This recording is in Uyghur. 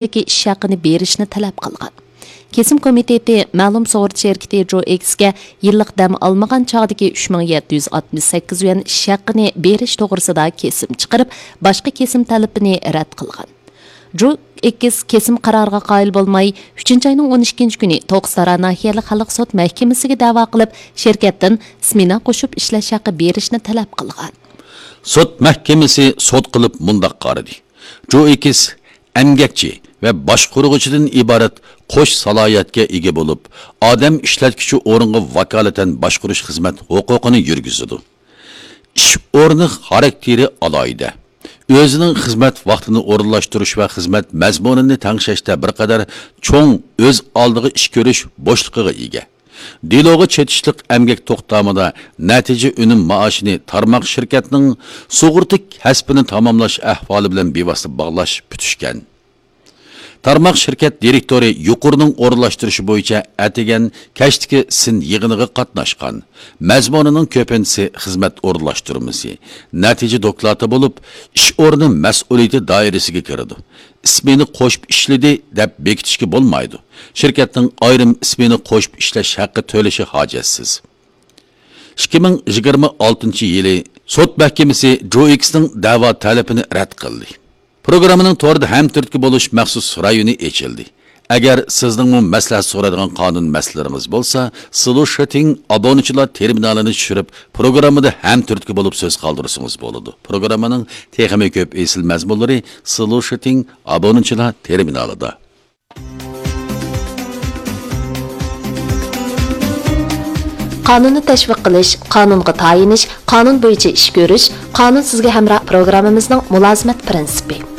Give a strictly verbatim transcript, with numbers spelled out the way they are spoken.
ئىش ھەققىنى بېرىشنى تەلەپ قىلغان. كېسىم كومىتېتى مەلۇم سۇغۇرتا شىركىتى جوئېكسكە يىللىق دەم ئالمىغان چاغدىكى ئۈچ مىڭ يەتتە يۈز ئاتمىش سەككىز يۈەن ئىش ھەققىنى بېرىش توغرىسىدا كېسىم چىقىرىپ، باشقا كېسىم تەلىپىنى رەت قىلغان. جوئېكس كېسىم قارارىغا قايىل بولماي، ئۈچىنچى ئاينىڭ ئون ئىككىنچى كۈنى توققۇز تارا ناھىيەلىك خەلق سوت مەھكىمىسىگە دەۋا قىلىپ، شىركەتتىن سمېنا قوشۇپ ئىشلەش ھەققى بېرىشنى تەلەپ قىلغان. سوت مەھكىمىسى سوت قىلىپ مۇنداق قارىدى: جوئېكس ئەمگەكچى ۋە باشقۇرغۇچىدىن ئىبارەت قوش سالاھىيەتكە ئىگە بولۇپ، ئادەم ئىشلەتكۈچى ئورۇنغا ۋاكالىتەن باشقۇرۇش خىزمەت ھوقۇقىنى يۈرگۈزىدۇ. ئىش ئورنى خاراكتېرى ئالاھىدە. ئۆزىنىڭ خىزمەت ۋاقتىنى ئورۇنلاشتۇرۇش ۋە خىزمەت مەزمۇنىنى تەڭشەشتە بىر قەدەر چوڭ ئۆز ئالدىغا ئىش كۆرۈش بوشلۇقىغا ئىگە. دېلوغا چېتىشلىق ئەمگەك توختامىدا نەتىجە ئۈنۈم مائاشىنى تارماق شىركەتنىڭ سۇغۇرتا كەسپىنى تاماملاش ئەھۋالى بىلەن بىۋاسىتە باغلاش پۈتۈشكەن. تارماق شىركەت دىرېكتورى يۇقىرىنىڭ ئورۇنلاشتۇرۇشى بويىچە ئەتىگەن، كەچتىكى سىن يىغىنىغا قاتناشقان. مەزمۇنىنىڭ كۆپىنچىسى خىزمەت ئورۇنلاشتۇرمىسى، نەتىجە دوكلاتى بولۇپ، ئىش ئورنى مەسئۇلىيىتى دائىرىسىگە كىرىدۇ. ئىسمېنا قوشۇپ ئىشلىدى دەپ بېكىتىشكە بولمايدۇ. شىركەتنىڭ ئايرىم ئىسمېنا قوشۇپ ئىشلەش ھەققى تۆلىشى ھاجەتسىز. ئىككى مىڭ يىگىرمە ئالتىنچى يىلى سوت مەھكىمىسى جوئېكسنىڭ دەۋا تەلىپىنى رەت قىلدى. پروگراممىنىڭ توردا ھەمتۈرتكە بولۇش مەخسۇس رايونى ئېچىلدى. ئەگەر سىزنىڭمۇ مەسلىھەت سورايدىغان قانۇن مەسىلىلىرىڭىز بولسا، سلۇشىتىڭ ئابۇنىچىلار تېرمىنالىنى چۈشۈرۈپ، پروگراممىدا ھەمتۈرتكە بولۇپ سۆز قالدۇرسىڭىز بولىدۇ. پروگراممىنىڭ تېخىمۇ كۆپ ئېسىل مەزمۇنلىرى سلۇشىتىڭ ئابۇنىچىلار تېرمىنالىدا. قانۇننى تەشۋىق قىلىش، قانۇنغا تايىنىش، قانۇن بويىچە ئىش كۆرۈش، قانۇن سىزگە ھەمراھ پروگراممىمىزنىڭ مۇلازىمەت پىرىنسىپى.